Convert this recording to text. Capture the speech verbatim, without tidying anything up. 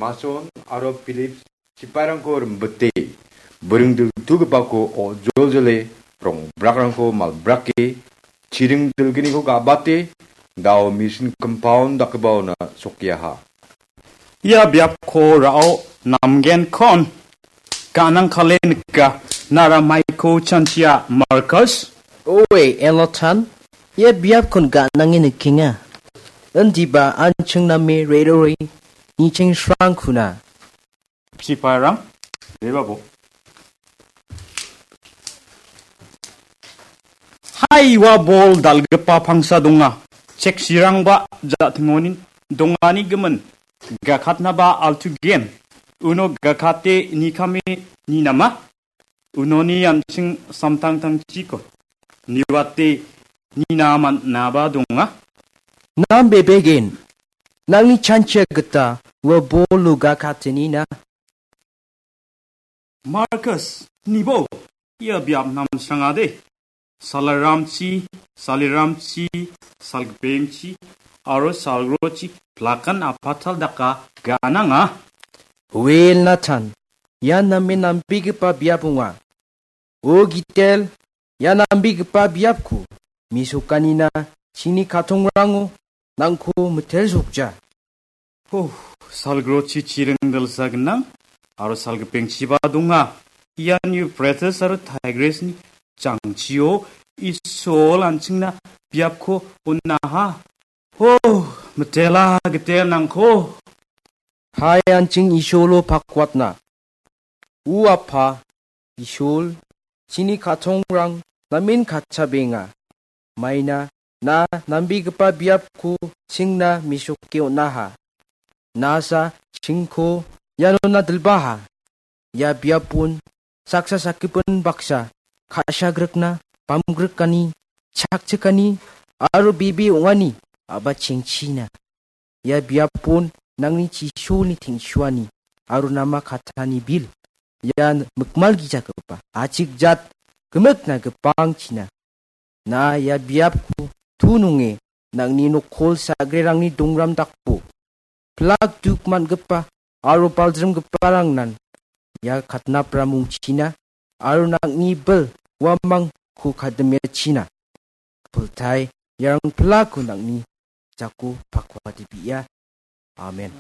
Mason aro Philip sipairangko rimbite, bring diltugipako ojoljole, rongbrakrangko malbrake, chiring dilgniko ga·bate, dao misin compound dakgipaona sokiaha. Ia biapko ra·o namgenkon ganangkale nika, nara maiko chanchia, Markus? Oe, Elotan, ia biapkon ganange nikenga. Indiba an·ching name re·rore, nicheng srangkuna. Sipairang, rebabo. Hai, ua bol dal·gipa pangsa donga. Cheksirangba ja·tingonin dongani gimin. Gakatnaba altugen. Uno gakate nikame ninama. Unoni an·ching samtangtangchiko niwate nina man·naba donga. Nam bebegen, nangni chanchia gita ua bolo gakatenina. Markus, nibo ia biap namsrangade. Salaramchi, saliramchi, salgipengchi, aro salgrochi plakan apatal daka gananga. Wel Nathan, ia namen nambegipa biap ong·a. O Gitel, ia nambegipa biapko mesokanina chini katongrango nangko mitelsokja. Ho, salgrochi chiring dilsa gnang aro salgipengchiba donga. Ian Euphrates aro Tigrisni jangchio Isol an·chingna biapko on·aha. Ho, mitela gitelnangko. Hai an·ching Isolo pakwatna. U Apa, Isol, chini katongrang namen katchabenga. Maina na nambegipa biapko chingna mesoke on·aha. Nasa chingko ianona dilbaha. Ia biapon saksa sakgipin baksa ka·sagrikna, bamgrikani, chakchikani aro bebe ong·ani a·bachengchina. Ia biapon nangni chisolni teng·suani aro nama katani bil. Ian mikmalgijagipa achikjat gimikna gipangchina. Na ia biapko tu nonge nangni nokol sagrerangni dongram dakbo. Plak duk man·gipa aro baljrimgiparangnan ia katnapra mungchina aro nangni bil uamangko kadimiachina. Pultai iarang plako nangni jako pakwatebia. Amen.